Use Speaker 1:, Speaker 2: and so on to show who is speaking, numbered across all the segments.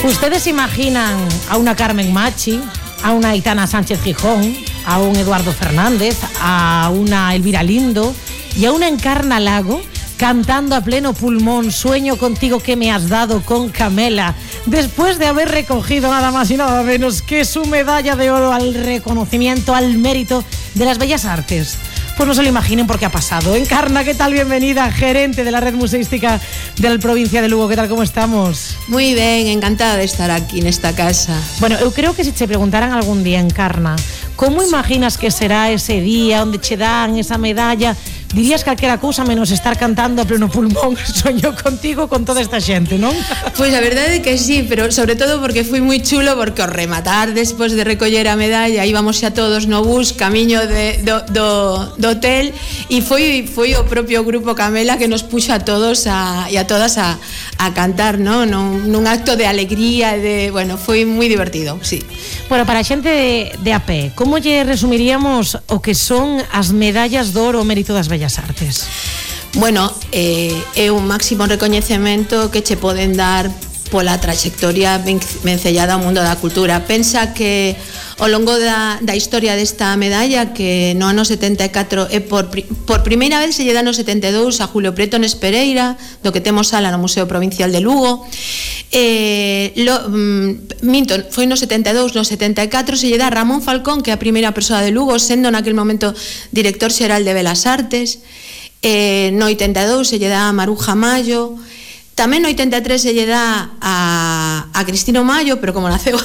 Speaker 1: ¿Ustedes imaginan a una Carmen Machi, a una Aitana Sánchez Gijón, a un Eduardo Fernández, a una Elvira Lindo y a una Encarna Lago cantando a pleno pulmón Sueño contigo que me has dado con Camela, después de haber recogido nada más y nada menos que su medalla de oro al reconocimiento, al mérito de las bellas artes? Pues no se lo imaginen porque ha pasado. Encarna, ¿qué tal? Bienvenida, gerente de la Red Museística de la provincia de Lugo. ¿Qué tal? ¿Cómo estamos?
Speaker 2: Muy ben, encantada de estar aquí nesta casa.
Speaker 1: Bueno, eu creo que se te preguntaran algún día, Encarna, como imaginas que será ese día onde che dan esa medalla, dirías calquera cousa menos estar cantando a pleno pulmón Sueño contigo con toda esta xente, non?
Speaker 2: Pois a verdade é que sí, pero sobre todo porque foi moi chulo, porque ao rematar despois de recoller a medalla íbamos xa todos no bus camiño do hotel e foi o propio grupo Camela que nos puxo a todos e a todas a cantar, non? Nun acto de alegría, bueno, foi moi divertido, sí.
Speaker 1: Bueno, para a xente de a pé, como lle resumiríamos o que son as medallas de oro ao mérito das bellas artes?
Speaker 2: Bueno, é un máximo recoñecemento que che poden dar pola trayectoria vencellada ao mundo da cultura. Pensa que ao longo da historia desta medalla, que no ano 74 é por primeira vez se lle dá no 72 a Julio Prieto Nespereira, do que temos sala no Museo Provincial de Lugo. Foi no 72, no 74 se lle dá a Ramón Falcón, que é a primeira persoa de Lugo, sendo naquel momento director xeral de Belas Artes. No 82 se lle dá a Maruja Mayo. Tamén no 83 se lle dá a Cristino Mayo, pero como naceu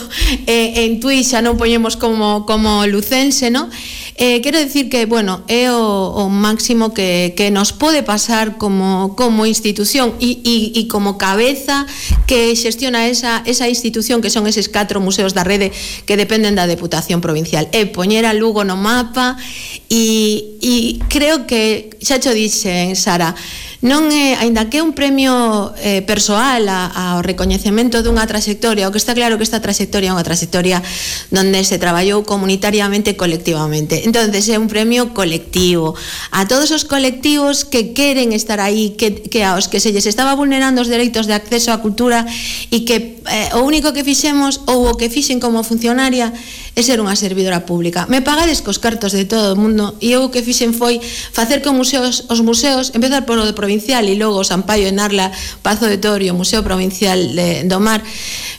Speaker 2: en Tui xa non poñemos como lucense, non? Quero dicir que, bueno, é o máximo que nos pode pasar como institución e como cabeza que xestiona esa institución, que son eses 4 museos da rede que dependen da Deputación Provincial. É poñer a Lugo no mapa e creo que, xa xo dixen, Sara, non é, aínda que é un premio persoal ao recoñecemento dunha trayectoria, o que está claro que esta trayectoria é unha trayectoria donde se traballou comunitariamente e colectivamente. Entonces é un premio colectivo a todos os colectivos que queren estar aí, que aos que se lles estaba vulnerando os dereitos de acceso á cultura e que o único que fixemos ou o que fixen como funcionaria é ser unha servidora pública. Me pagades cos cartos de todo o mundo e eu o que fixen foi facer que os museos, empezar por o de Provincial e logo o Sampaio en Arla, Pazo de Torio, Museo Provincial do Mar,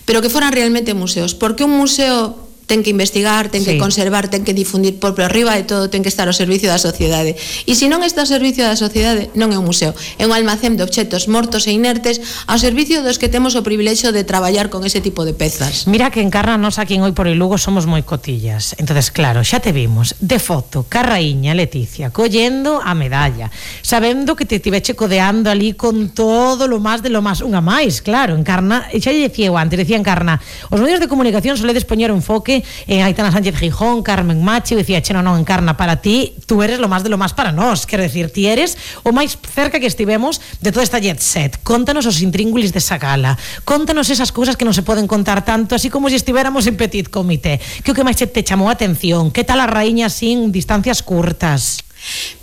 Speaker 2: pero que foran realmente museos, porque un museo ten que investigar, ten que conservar, ten que difundir, por arriba de todo ten que estar ao servicio da sociedade. E se non está ao servicio da sociedade, non é un museo, é un almacén de obxetos mortos e inertes ao servicio dos que temos o privilexio de traballar con ese tipo de pezas.
Speaker 1: Mira que Encarna, nos aquí en Hoy por el Lugo somos moi cotillas. Entonces, claro, xa te vimos de foto, ca raíña Leticia, collendo a medalla, sabendo que te tiveche codeando ali con todo lo más de lo más, unha máis, claro, Encarna, xa lle decía eu antes, decía Encarna, os medios de comunicación soledes poñer un enfoque en Aitana Sánchez Gijón, Carmen Machi, eu dicía, no, Encarna, para ti, tú eres lo más de lo más para nós, quero decir, ti eres o máis cerca que estivemos de toda esta jet set. Contanos os intríngulis desa gala, contanos esas cousas que non se poden contar tanto, así como se estivéramos en petit comité. Que o que máis te chamou a atención? Que tal a raíña sin distancias curtas?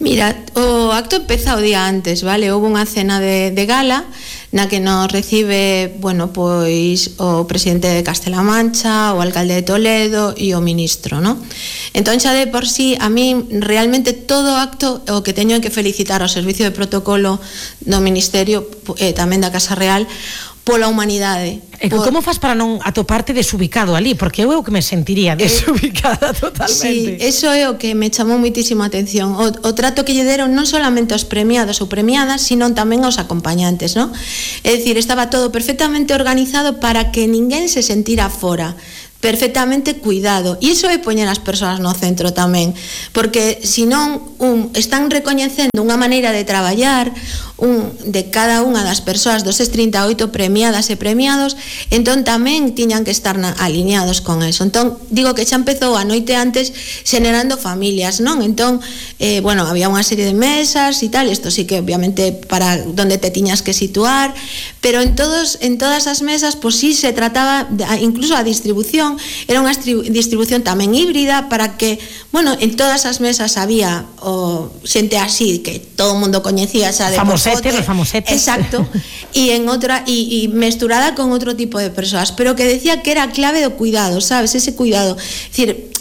Speaker 2: Mira, o acto empeza o día antes, vale? Houve unha cena de gala na que nos recibe, bueno, pois o presidente de Castela Mancha, o alcalde de Toledo e o ministro, non? Entón xa de por sí, a mí realmente todo acto o que teño que felicitar ao servicio de protocolo do Ministerio, tamén da Casa Real, pola humanidade.
Speaker 1: E como fas para non atoparte desubicado ali? Porque eu que me sentiría desubicada totalmente.
Speaker 2: Sí, eso é o que me chamou muitísimo a atención. O trato que lle deron non solamente aos premiados ou premiadas, sino tamén aos acompañantes, non? É dicir, estaba todo perfectamente organizado para que ninguén se sentira fora, perfectamente cuidado, e iso é poñer as persoas no centro tamén, porque senón están recoñecendo unha maneira de traballar de cada unha das persoas dos 38 premiadas e premiados, entón tamén tiñan que estar alineados con eso. Entón, digo que xa empezou a noite antes xenerando familias, non? Entón, bueno, había unha serie de mesas e tal, isto sí que obviamente para donde te tiñas que situar, pero en todas as mesas, pois sí se trataba, incluso a distribución distribución, era unha distribución tamén híbrida para que, bueno, en todas as mesas había xente así que todo o mundo coñecía, xa de
Speaker 1: famosetes, os famosetes.
Speaker 2: Exacto. E en outra e mesturada con outro tipo de persoas, pero que decía que era a clave do cuidado, sabes? Ese cuidado. É dicir,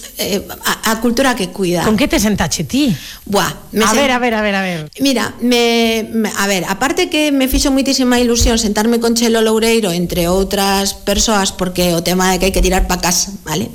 Speaker 2: a cultura que cuida.
Speaker 1: Con que te sentache ti?
Speaker 2: Buah,
Speaker 1: a ver.
Speaker 2: Mira, a ver, aparte que me fixo moitísima ilusión sentarme con Chelo Loureiro, entre outras persoas, porque o tema de que hai que tirar pa casa, vale?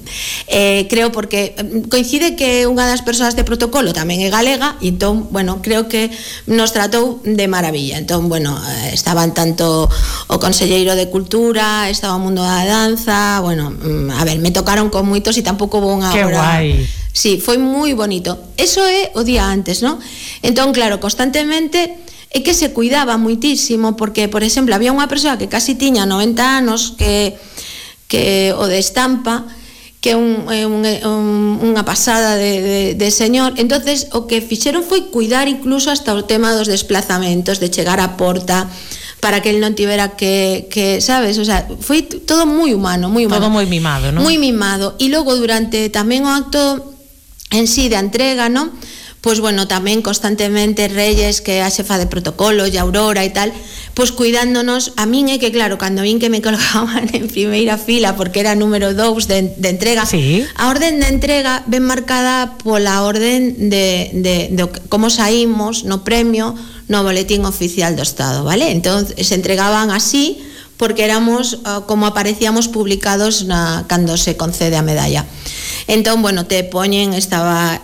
Speaker 2: Creo porque coincide que unha das persoas de protocolo tamén é galega, e entón, bueno, creo que nos tratou de maravilla. Entón, bueno, estaban tanto o conselleiro de Cultura, estaba o mundo da danza, bueno, a ver, me tocaron con moitos e tampouco vou unha hora.
Speaker 1: Guai.
Speaker 2: Sí, foi moi bonito. Eso é o día antes, ¿no? Entón, claro, constantemente é que se cuidaba moitísimo, porque, por exemplo, había unha persoa que casi tiña 90 anos que o de Estampa, que é unha pasada de señor. Entonces, o que fixeron foi cuidar incluso hasta o tema dos desplazamentos, de chegar á porta, para que él non tivera que, sabes, o sea, foi todo moi humano, moi humano.
Speaker 1: Todo moi mimado, non?
Speaker 2: Moi mimado. E logo durante tamén o acto en sí de entrega, non? Pois bueno, tamén constantemente Reyes, que é a xefa de protocolo, e Aurora e tal, pois cuidándonos. A min é que claro, cando vin que me colgaban en primeira fila porque era número 2 de entrega,
Speaker 1: sí.
Speaker 2: A orden de entrega ven marcada pola orden de como saímos no premio no boletín oficial do Estado, vale? Entón se entregaban así porque éramos como aparecíamos publicados cando se concede a medalla. Entón, bueno, te poñen, estaba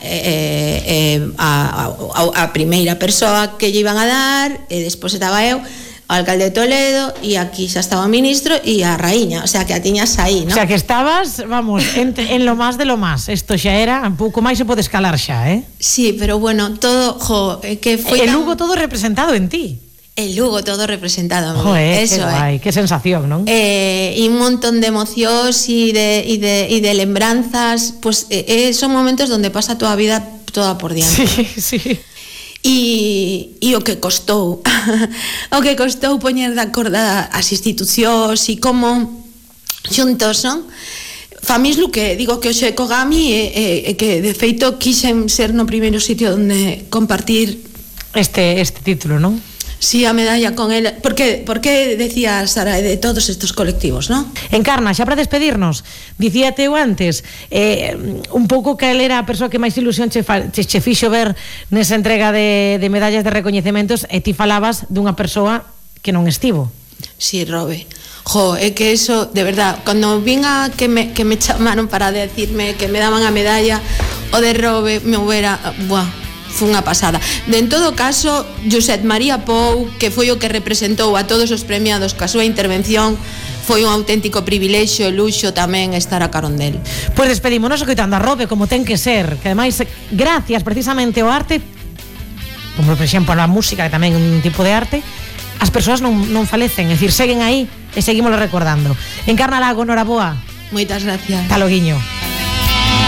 Speaker 2: a primeira persoa que lle iban a dar, e despois estaba eu, o alcalde de Toledo, e aquí xa estaba o ministro e a raíña, o sea, que a tiñas aí, ¿no?
Speaker 1: O sea, que estabas, vamos, en lo más de lo más. Isto xa era, un pouco máis se pode escalar xa, eh?
Speaker 2: Sí, pero bueno, todo, que foi
Speaker 1: el Lugo todo representado en ti.
Speaker 2: El Lugo todo representado en mí.
Speaker 1: Joder,
Speaker 2: eso,
Speaker 1: qué guai, qué sensación, non?
Speaker 2: E un montón de emocións e de lembranzas, pues son momentos donde pasa toda a vida toda por diante.
Speaker 1: Sí, sí.
Speaker 2: E o que costou poñer de acordo as institucións e como xuntos, non? Famislu, que digo que hoxe Kogami e que de feito quixen ser no primeiro sitio onde compartir
Speaker 1: este título, non?
Speaker 2: Sí, a medalla con él. ¿Por qué decía Sara de todos estos colectivos, no?
Speaker 1: Encarna, xa para despedirnos, dicíate eu antes, un pouco que él era a persoa que máis ilusión che fixo ver nesa entrega de medallas de recoñecementos, e ti falabas dunha persoa que non estivo.
Speaker 2: Sí, Robe. Jo, é que eso, de verdad, cando vinga que me chamaron para decirme que me daban a medalla, o de Robe me hubiera, foi unha pasada. En todo caso, Josep María Pou, que foi o que representou a todos os premiados ca súa intervención, foi un auténtico privilexio e luxo tamén estar a carón del.
Speaker 1: Pois despedímonos escoitando a Robe, como ten que ser, que ademais, gracias precisamente ao arte, como por exemplo a música, que tamén é un tipo de arte, as persoas non falecen, é dicir, seguen aí e seguimos recordando. Encarna Lago, noraboa.
Speaker 2: Moitas gracias.
Speaker 1: Hasta loguiño.